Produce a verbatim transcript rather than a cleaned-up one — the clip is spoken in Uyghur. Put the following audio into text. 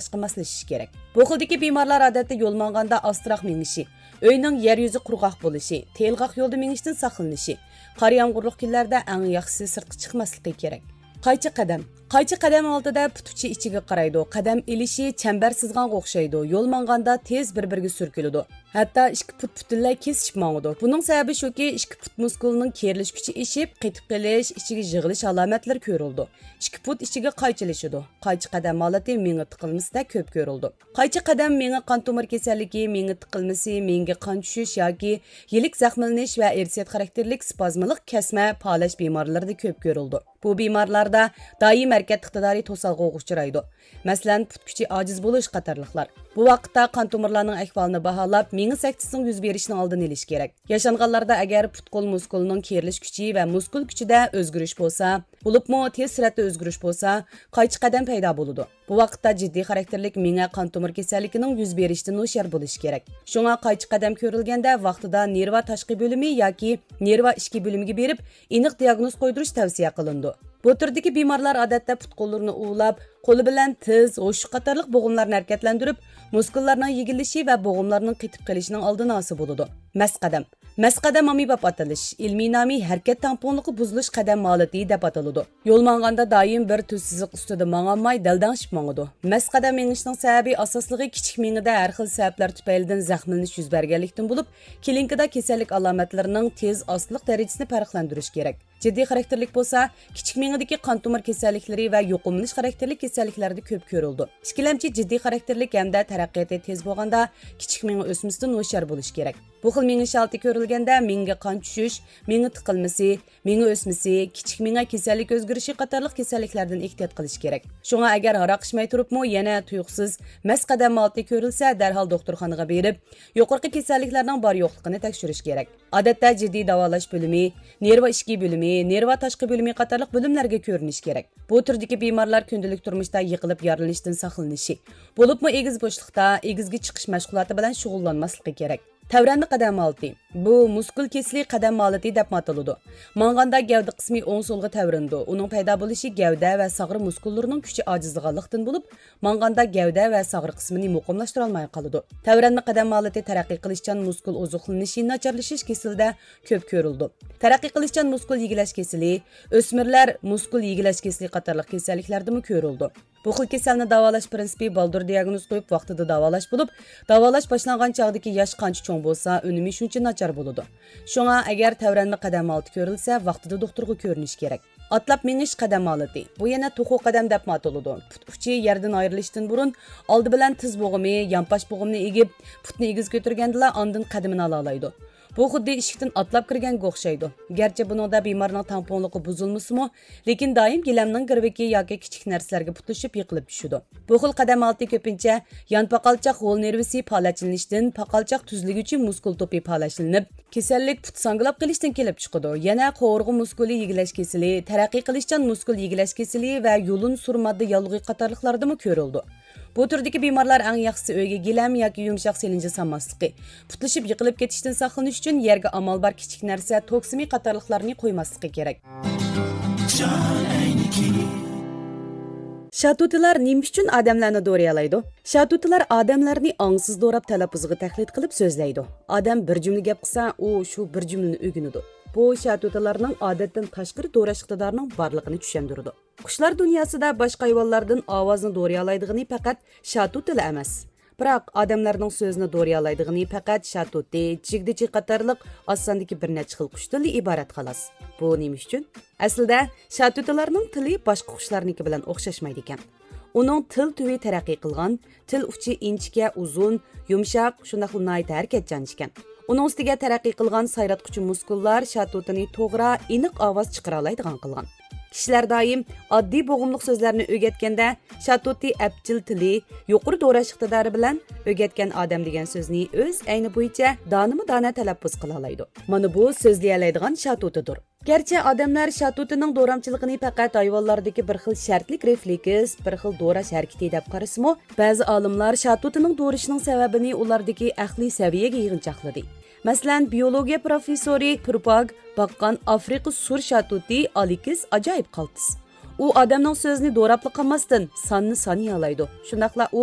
باشقا ماسلىشىشى كېرەك. بۇ خىلدىكى بىمارلار ئادەتتە يول ماڭغاندا ئاستىراق مېڭىشى، ئۆينىڭ يەر يۈزى قۇرغاق بولۇشى، تېلغاق يولدا مېڭىشتىن ساقلىنىشى، قار يامغۇرلۇق كۈنلەردە ئەڭ ياخشىسى سىرتقا چىقماسلىقى كېرەك. قايچا قەدەم. قايچا قەدەم ھالىتىدە پۇت ئۇچى ئىچىگە قارايدۇ، قەدەم ئېلىشى چەمبەر سىزغانغا ئوخشايدۇ، يول ماڭغاندا تېز بىر-بىرىگە سۈركىلىدۇ. ھەتتا ئىككى پۇت پۈتۈنلەي كېسىشىپ ماڭىدۇ. بۇنىڭ سەۋەبى شۇكى، ئىككى پۇت مۇسكۇلىنىڭ كېرىلىش كۈچى ئېشىپ، قېتىپ قېلىش، ئىچىگە يىغىلىش ئالامەتلىرى كۆرۈلىدۇ. ئىككى پۇت ئىچىگە قايچىلىشىدۇ. قايچا قەدەم ھالىتى مېڭە تىقىلمىسىدە كۆپ كۆرۈلىدۇ. قايچا قەدەم مېڭە قان تومۇر كېسەللىكى، مېڭە تىقىلمىسى، مېڭىگە قان چۈشۈش ياكى يىلىك زەخىملىنىش ۋە ئىرسىيەت خاراكتېرلىك سپازمىلىق كەسمە پالەچ بىمارلىرىدا كۆپ كۆرۈلىدۇ. بۇ بىمارلاردا دائىم ھەرىكەت ئىقتىدارى توسالغۇغا ئۇچرايدۇ. مەسىلەن، پۇت كۈچى ئاجىز بولۇش قاتارلىقلار. بۇ ۋاقىتتا قان تومۇرلارنىڭ ئەھۋالىنى باھالاپ، مېڭە سەكتىسىنىڭ يۈز بېرىشىنىڭ ئالدىنى ئېلىش كېرەك. ياشانغانلاردا ئەگەر پۇت-قول مۇسكۇلىنىڭ كېرىلىش كۈچى ۋە مۇسكۇل كۈچىدە ئۆزگىرىش بولسا، بولۇپمۇ تېز سۈرئەتتە ئۆزگىرىش بولسا، قايچا قەدەم پەيدا بولىدۇ. بۇ ۋاقىتتا جىددىي خاراكتېرلىك مېڭە قان تومۇر كېسەللىكىنىڭ يۈز بېرىشتىن ھوشيار بولۇش كېرەك. شۇڭا قايچا قەدەم كۆرۈلگەندە ۋاقتىدا نېرۋا تاشقى بۆلۈمى ياكى نېرۋا ئىچكى بۆلۈمىگە بېرىپ، ئېنىق دىئاگنوز قويدۇرۇش تەۋسىيە قىلىنىدۇ. بۇ تۈردىكى بىمارلار ئادەتتە پۇت-قوللىرىنى ئۇۋىلاپ، قولى بىلەن تىز، ھوشۇش قاتارلىق بوغۇملارنى ھەرىكەتلەندۈرۈپ، مۇسكۇللارنىڭ يېگىلىشى ۋە بوغۇملارنىڭ قېتىپ قېلىشىنىڭ ئالدىنى ئالسا بولىدۇ. مەس قەدەم. مەس قەدەم ئاممىباب ئاتىلىش، ئىلمىي نامى ھەرىكەت تەڭپۇڭلۇقى بۇزۇلۇش قەدەم ھالىتى دەپ ئاتىلىدۇ. يول ماڭغاندا دائىم بىر تۈز سىزىق ئۈستىدە ماڭالماي، دەلدەڭشىپ ماڭىدۇ. مەس قەدەم مېڭىشنىڭ سەۋەبى ئاساسلىقى كىچىك مېڭىدە ھەر خىل سەۋەبلەر تۈپەيلىدىن زەخىملىنىش يۈز بەرگەنلىكتىن بولۇپ، كلىنىكىدا كېسەللىك ئالامەتلىرىنىڭ تېز، ئاستىلىق دەرىجىسىنى پەرقلەندۈرۈش كېرەك. جىددىي خاراكتېرلىك بولسا، كىچىك مېڭىدىكى قان تومۇر كېسەللىكلىرى ۋە يۇقۇملىنىش خاراكتېرلىك كېسەللىكلەردە كۆپ كۆرۈلىدۇ. ئىككىلەمچى جىددىي خاراكتېرلىك ھەمدە تەرەققىياتى تېز بولغاندا، كىچىك مېڭە ئۆسمىسىدىن ھوشيار بولۇش كېرەك. بۇ خىل مېڭىش ھالىتى كۆرۈلگەندە، مېڭىگە قان چۈشۈش، مېڭە تىقىلمىسى، مېڭە ئۆسمىسى، كىچىك مېڭە كېسەللىك ئۆزگىرىشى قاتارلىق كېسەللىكلەردىن ئېھتىيات قىلىش كېرەك. شۇڭا ئەگەر ھاراق ئىچمەي تۇرۇپمۇ يەنە تۇيۇقسىز مەس قەدەم ھالىتى كۆرۈلسە، دەرھال دوختۇرخانىغا بېرىپ، يۇقىرىقى كېسەللىكلەرنىڭ بار-يوقلۇقىنى تەكشۈرۈش كېرەك. ئادەتتە جىددىي داۋالاش بۆلۈمى، نېرۋا ئىچكى بۆلۈمى، نېرۋا تاشقى بۆلۈمى قاتارلىق بۆلۈملەرگە كۆرۈنۈش كېرەك. بۇ تۈردىكى بىمارلار كۈندىلىك تۇرمۇشتا يىقىلىپ يارىلىنىشتىن ساقلىنىشى، بولۇپمۇ ئېگىز بوشلۇقتا ئېگىزگە چىقىش مەشغۇلاتى بىلەن شۇغۇللانماسلىقى كېرەك. تەۋرەنمە قەدەم ھالىتى. بۇ مۇسكۇل كېسىلى قەدەم ھالىتى دەپمۇ ئاتىلىدۇ. ماڭغاندا گەۋدە قىسمى ئوڭ-سولغا تەۋرىنىدۇ. ئۇنىڭ پەيدا بولۇشى گەۋدە ۋە ساغرا مۇسكۇللىرىنىڭ كۈچى ئاجىزلىغانلىقتىن بولۇپ، ماڭغاندا گەۋدە ۋە ساغرا قىسمىنى مۇقىملاشتۇرالماي قالىدۇ. تەۋرەنمە قەدەم ھالىتى تەرەققىي قىلىشچان مۇسكۇل ئوزۇقلىنىشى ناچارلىشىش كېسىلىدە كۆپ كۆرۈلىدۇ. تەرەققىي قىلىشچان مۇسكۇل يېگىلەش كېسىلى، ئۆسمۈرلەر مۇسكۇل يېگىلەش كېسىلى قاتارلىق كېسەللىكلەردىمۇ كۆرۈلىدۇ. بۇ خىل كېسەلنى داۋالاش پىرىنسىپى بالدۇر دىئاگنوز قويۇپ، ۋاقتىدا داۋالاش بولۇپ، داۋالاش باشلانغان چاغدىكى ياش قانچە چوڭ بولسا، ئۈنۈمى شۇنچە ناچار بولىدۇ. شۇڭا، ئەگەر تەۋرەنمە قەدەم ھالىتى كۆرۈلسە، ۋاقتىدا دوختۇرغا كۆرۈنۈش كېرەك. ئاتلاپ مېڭىش قەدەم ھالىتى. بۇ يەنە توخۇ قەدەم دەپمۇ ئاتىلىدۇ. پۇت ئۇچى يەردىن ئايرىلىشتىن بۇرۇن، ئالدى بىلەن تىز بوغۇمى، يانپاش بوغۇمنى ئېگىپ، پۇتنى ئېگىز كۆتۈرگەندىلا ئاندىن قەدىمىنى ئالالايدۇ. بۇ خۇددى ئىشىكتىن ئاتلاپ كىرگەنگە ئوخشايدۇ. گەرچە بۇنىڭدا بىمارنىڭ تەڭپۇڭلۇقى بۇزۇلمىسىمۇ، لېكىن دائىم گىلەمنىڭ گىرۋىكى ياكى كىچىك نەرسىلەرگە پۇتلىشىپ يىقىلىپ چۈشىدۇ. بۇ خىل قەدەم ھالىتى كۆپىنچە يان پاقالچاق غول نېرۋىسى پالەچلىنىشتىن پاقالچاق تۈزلىگۈچى مۇسكۇل توپى پالەچلىنىپ، كېسەللىك پۇت ساڭگىلاپ قېلىشتىن كېلىپ چىقىدۇ. يەنە قوۋۇرغا مۇسكۇلى يېگىلەش كېسىلى، تەرەققىي قىلىشچان مۇسكۇل يېگىلەش كېسىلى ۋە يۇلۇن سۇر ماددا ياللۇغى قاتارلىقلاردىمۇ كۆرۈلىدۇ. بۇ تۈردىكى بىمارلار ئەڭ ياخشىسى ئۆيگە گىلەم ياكى يۇمشاق سېلىنجا سالماسلىقى، پۇتلىشىپ يىقىلىپ كېتىشتىن ساقلىنىش ئۈچۈن يەرگە ئامال بار كىچىك نەرسە، توك سىمى قاتارلىقلارنى قويماسلىقى كېرەك. شاتۇتىلار نېمە ئۈچۈن ئادەملەرنى دورايالايدۇ؟ شاتۇتىلار ئادەملەرنى ئاڭسىز دوراپ، تەلەپپۇزىغا تەقلىد قىلىپ سۆزلەيدۇ. ئادەم بىر جۈملە گەپ قىلسا، ئۇ شۇ بىر جۈملىنى ئۆگىنىدۇ. بۇ شاتۇتىلارنىڭ ئادەتتىن تاشقىرى دوراش ئىقتىدارىنىڭ بارلىقىنى چۈشەندۈرىدۇ. قۇشلار دۇنياسىدا باشقا ھايۋانلاردىن ئاۋازنى دورىيالايدىغىنى پەقەت شاتۇتىلا ئەمەس. بىراق، ئادەملەرنىڭ سۆزىنى دورىيالايدىغىنى پەقەت شاتۇتى، جىگدىچى قاتارلىق ئاز ساندىكى بىر نەچچە خىل قۇشتىنلا ئىبارەت، خالاس. بۇ نېمە ئۈچۈن؟ ئەسلىدە، شاتۇتىلارنىڭ تىلى باشقا قۇشلارنىڭكى بىلەن ئوخشاشمايدىكەن. ئۇنىڭ تىل تۈۋى تەرەققىي قىلغان، تىل ئۇچى ئىنچىكە، ئۇزۇن، يۇمشاق، شۇنداقلا ناھايىتى ھەرىكەتچان ئىكەن. ئۇنىڭ ئۈستىگە تەرەققىي قىلغان سايراتقۇچى مۇسكۇللار شاتۇتىنى توغرا، ئېنىق ئاۋاز چىقىرالايدىغان قىلغان. كىشىلەر دائىم ئاددىي بوغۇملۇق سۆزلەرنى ئۆگەتكەندە، شاتۇتى ئەپچىل تىلى، يۇقىرى دوراش ئىقتىدارى بىلەن ئۆگەتكەن ئادەم دېگەن سۆزنى ئۆز ئەينى بويىچە دانىمۇ دانە تەلەپپۇز قىلالايدۇ. مانا بۇ سۆزلىيەلەيدىغان شاتۇتىدۇر. گەرچە ئادەملەر شاتۇتىنىڭ دورامچىلىقىنى پەقەت ھايۋانلاردىكى بىر خىل شەرتلىك رېفلېكس، بىر خىل دوراش ھەرىكىتى دەپ قارىسىمۇ، بەزى ئالىملار شاتۇتىنىڭ دورىشىنىڭ سەۋەبىنى ئۇلاردىكى ئەقلىي سەۋىيەگە يىغىنچاقلىدى. مەسىلەن، بىيولوگىيە پروفېسسورى پۇرپاگ باققان ئافرىقا سۇر شاتۇتى ئالېكس ئاجايىپ قالتىس. ئۇ ئادەمنىڭ سۆزىنى دوراپلا قالماستىن، ساننى سانىيالايدۇ. شۇنداقلا ئۇ